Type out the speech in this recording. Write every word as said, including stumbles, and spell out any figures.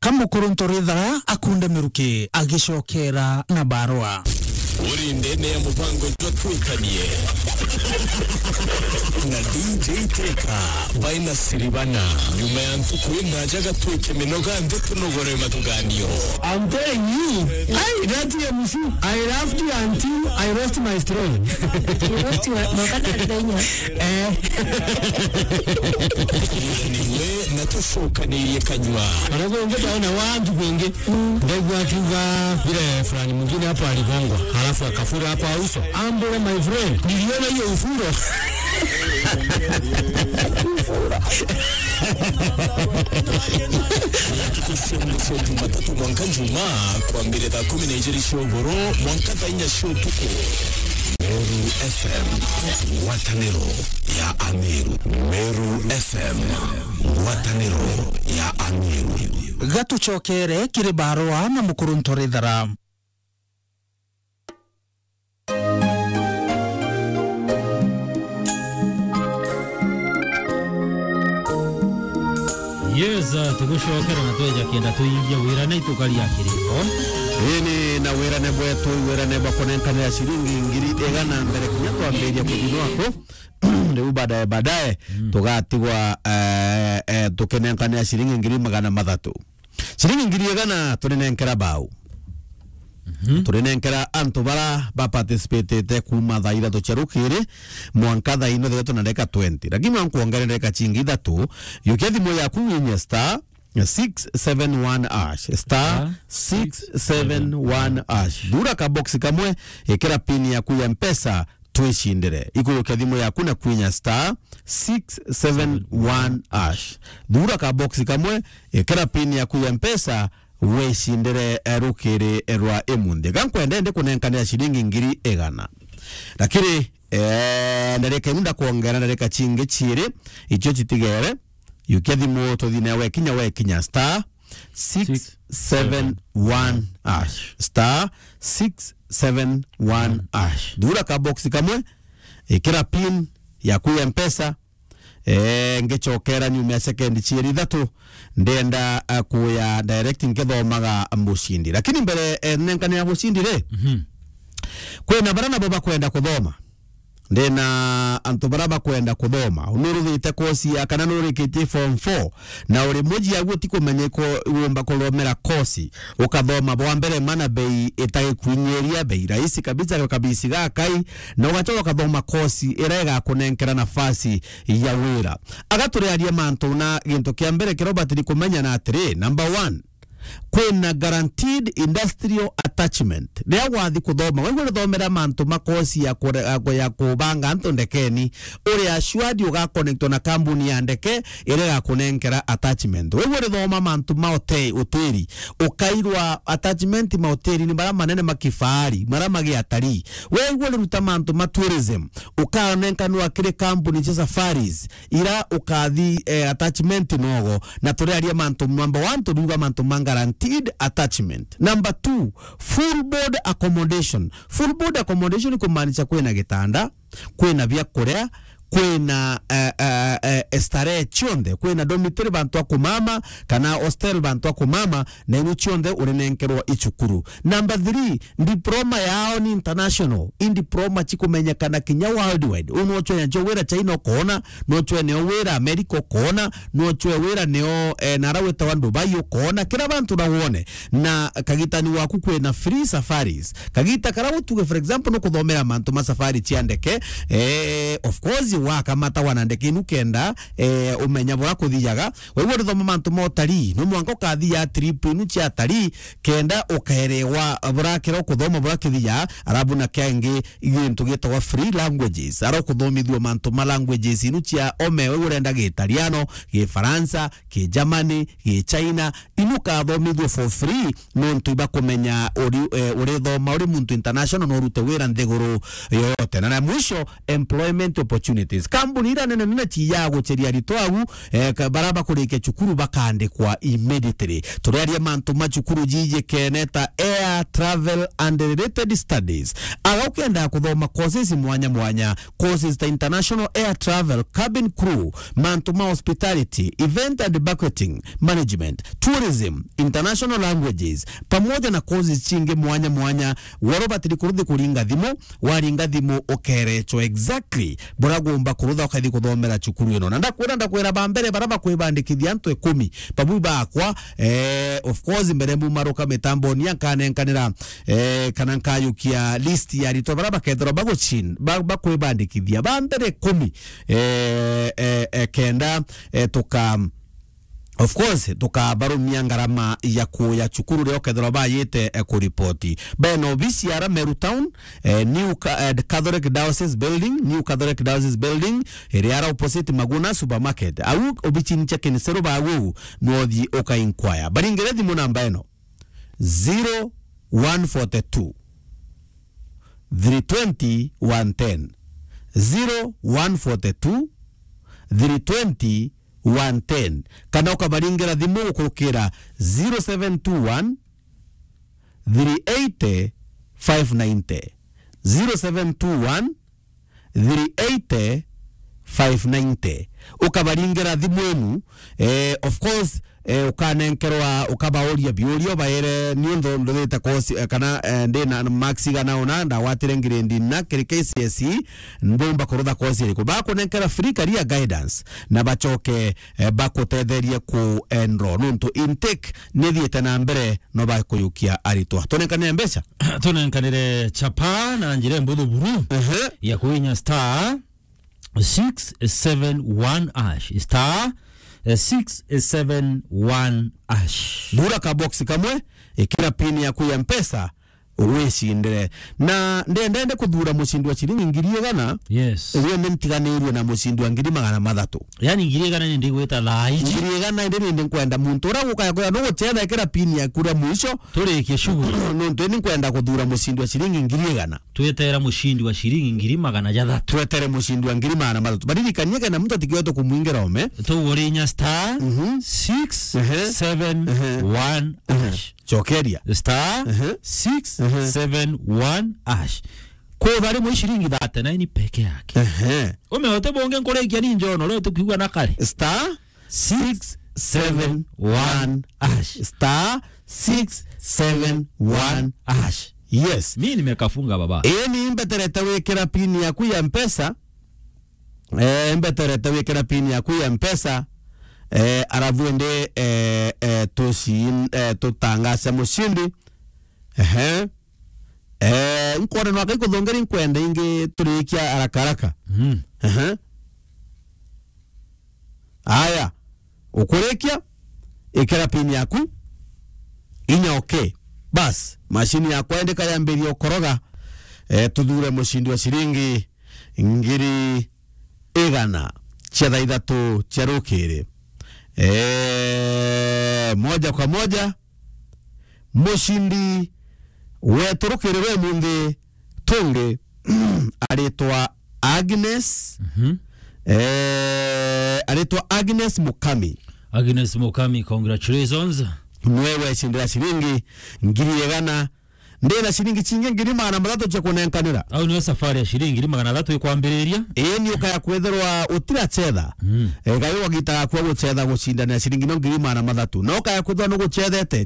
Ka Mukuruntu Rithara akunde miruki agicokera na barua. Uri ndene ya mubango jwa Twikanie na D J Teka by Nasiribana. Nyuma ya ntuku inaja gatwike minoga nthi tunogore matuganio. I'm telling you, I, that M C, I laughed you until I lost my throne. You lost your, mwanka thaa inya. Eh. Niwe na tucokanirie kanyua. Aria kungi twaona wa ntuku ingi, ndaigua akiuga vile fulani mwingine hapo aligongwa, halafu akafura kwa uso. Ambule, my friend, niliona hiyo ufuro. Ntuku cia mwisho Jumatatu mwanka Jumaa, kwambire thaa kumi na ijiri cia ugoro mwanka thaa inya cia utuku. Meru F M, ngwataniro ya Ameru. Meru F M, ngwataniro ya Ameru. Gatucokere kiri barua na Mukuruntu Rithara. Yes, uh, tugucokera na tweja kenda tuingia wirane itukaria kiriko. Ini na wirane bwetu, wirane bwa kunenkanira ciringi ngiri igana mbere kinya twambiria kuthinwa aku. Riu baadaye, baadaye, mm, tugatigwa, eh, eh, tukinenkanira ciringi ngiri magana mathatu. Ciringi ngiri igana turinenkera bau. Mhm. Turinenkera antu bara ba participatete kuuma thaa ithatu cia rukiri mwanka thaa ino, thaa ithatu na ndagika twenty. Lakini mwanka wongere ndagika cingi ithatu, yukia thimu yaku winye star six seven one hash, star six seven one hash. Thura ka box kamwe, ikira pin yaku ya Mpesa, twicindire. Ikurukia thimu yaku na kwinya star six seven one hash. Thura ka box kamwe, ikira pin yaku ya Mpesa, wicindire, eh, rukiri rwa imunthi. Ga nkwenda ndi kunenkanira ciringi ngiri igana. Lakini, eh, ndarika inu ndakwongera ndarika cingi ciiri, icio citigere. Yukia thimu tuthine wekinya, wekinya star six seven one hash. Star six seven one hash. Thura ka box kamwe, ikira pin yaku ya Mpesa, eh, ngicokera nyuma ya sekendi ciiri ithatu, ndenda, eh, kuya direct nkithomaga mucindi. Lakini mbere, eh, nenkanira mucindi ri, mhm, kwina bara nabo bakwenda kuthoma. Ndina antu bara bakwenda kuthoma. Nuruthite kosi ya kana nurikitie form four, na uri muji agu utikumenya iko wumba kuthomera kosi. Ukathoma bwa mbere mana bei itagikuinyiria, bei rahisi kabisa, kabisi ga kai, na ugacoka ukathoma kosi iria igakunenkera nafasi ya wira. Agaturiaria mantu na gintu kia mbere kiria ubatiri kumenya na atiri, number one, kwina guaranteed industrial attachment. Riria wathi kuthoma, waigua urithomera mantu ma kosi ya kure-, ya ku-, ya kubanga antu ndekeni, uri assured ugakonektwa na kambuni ya ndeke iria igakunenkera attachment. Waigua urithoma mantu ma hote-, hoteli, ukairwa attachment ma hoteli ni maria manene ma kifahari, maria magi atarii. Waigua uriruta mantu ma tourism, ukanenkanwa kiri kambuni cia safaris, ira ukathi, eh, attachment nogo, na turiaria mantu number one, turiuga mantu ma guaranteed attachment. Number two, full board accommodation. Full board accommodation ni kumaanisha kwina gitanda, kwina bia kuria, kwina, eh, eh, eh, starehe cionthe, kwina dormitory bantu a kumama, kana hostel bantu a kumama, na inu cionthe urinenkerwa icukuru. Number three, diploma yao ni international. I diploma cikumenyekana kinya worldwide. Uu no chwe njo wira China ukoona, no chwe neo wira America ukoona, no chwe wira neo, eh, nara witawa Dubai ukoona. Kira bantu na wone. Na kagitani waku kwina free safaris. Kagita kara utuge, for example, no kuthomera mantu ma safari cia ndeke. Eh, of course, wakamata wana ndeke inu kenda, eh, umenya bura kuthiaga. Waigua urithoma mantu ma utalii, no mwanka ukathiaga trip inu cia atalii, kenda ukaerewa burakira ukuthoma burakithia, arabu na kiangi gintu gitagwa free languages. Ara ukuthomithua mantu ma languages inu cia ome, waigua urenda Giitaliano, Gifaransa, Gigermany, Gichina, inu ukathomithua for free, nontu ibakumenya uri, eh, urithoma uri muntu international, no urute wira nthiguru yoyote. Na, na mwisho, employment opportunity. Universities. Kambuni ira nene nene ci ya guceria aritwa au, eh, ka-, bara bakurikia cukuru bakandikwa immediately. Turiaria mantu ma cukuru jijikene ta Air Travel and Related Studies. Aga ukenda kuthoma courses mwanya mwanya, courses ta International Air Travel, Cabin Crew, mantu ma hospitality, event and banqueting management, tourism, international languages, pamoja na courses cingi mwanya mwanya. Wari ubatiri kuruthi kuringa thimu, waringa thimu ukerechwa exactly buria ugomba kurutha ukathi kuthomera cukuru ino. Na ndakwira, ndakwira ba mbere bara bakwibandikithia antu ikumi. Babu bakwa, eh, of course, mbere mbumaruka mitamboni, nkanenkanira, eh, kana nkayukia list ya aritwa bara bakethirwa bagucin-, ba-, bakwibandikithia. Ba mbere ikumi, eh, eh, eh, kenda, eh, tuka Of course, tukabarumia ngarama ya kuya cukuru riria ukethirwa bayite, eh, kuripoti. Bena obisi ya Meru Town, eh, New Ca-, eh, Catholic Diocese Building, New Catholic Diocese Building, iria ara opposite Maguna Supermarket. Au obicini cia Kiniseru bagu, nothi uka inquire. Baringire thimu namba ino, zero one forty-two, three twenty, one ten. Zero one forty-two, three twenty, one ten, kana ukabaringera thimu gukurukira zero seven two one, three eighty, five ninety, zero seven two one, three eighty, five ninety. Ukabaringera thimu inu, eh, of course, eh, ukanenkerwa, ukabauria biuria, ubaere, niuntu nduthite course, eh, kana, eh, ndi na marks igana una, ndagwatire grade ina kiri K C S E, mbumba kurutha course iriku? Bakunenkera free career guidance na bacoke, eh, bakutetherie ku enroll, nuntu intake nithiite na mbere, no bakuyukia aritwa. Tunenkanire mbeca? Tunenkanire chapa na njira mbuthu buru, ehe, ya kuinya star six seven one hash. Star, eh, six seven one hash. Thura ka box kamwe, ikira pin yaku ya Mpesa, wicindire. Na ndendende kuthura mucindi wa ciringi ngiri igana, yes, iria ni ntiganirue na mucindi wa ngiri magana mathatu. Yani ngiri igana ni ndigwita thaa ici. Ngiri igana indi ni nkwenda muntu uria gukaya kuya no gucetha, ikira pin yaku ria mwisho. Turikie shughuli. Nuntu ni nkwenda kuthura mucindi wa ciringi ngiri igana. Twetera mucindi wa ciringi ngiri magana jathatu. Twetere mucindi wa ngiri magana mathatu. Baririkanie kenda muntu atikiwe tukumwingira ome. Tugurinya star, mhm, six seven one, ehe, hash. Cokeria. Star, ehe, six seven one hash. Kutha rimwe ciringi thirty-nine peke yake. Ehe. Umeote bonge nkurikia ni njono, leo tukiuga na kare. Star six seven one hash. Star six seven one hash. Yes. Mimi nimekafunga baba. Ii ni mbeterete wikira pin yaku ya Mpesa. Eh, mbeterete wikira pin yaku ya Mpesa. Eh, arabu indi, eh, eh, tuci-, eh, tutangace mucindi. Ehe. Eh, nkwona no akai kuthongeri nkwenda ingi turikia haraka haraka. Mm. Ehe. Aya, ukurikia, ikira pin yaku, inya okay. Bas, mashini yakwa indika yambiria ukoroga, eh, tuthure mucindi wa ciringi ngiri igana cia thaa ithatu cia rukiri. Eh, moja kwa moja, mucindi wetu rukiri rwa umunthi tungi aritwa Agnes. Mhm. Eh, aritwa Agnes Mukami. Agnes Mukami, congratulations. Niwe wecindira ciringi ngiri igana. Ndina ciringi cingi ngiri magana mathatu cia kunenkanira. Au niyo safari ya ciringi ngiri magana mathatu ikwambiriria? Ii, ni ukaya kwithirwa utiracetha. Mm. Eh, gai wagita gakua gucetha gucindanira ciringi no ngiri magana mathatu. Na ukaya kwithirwa nugucethete. Cetha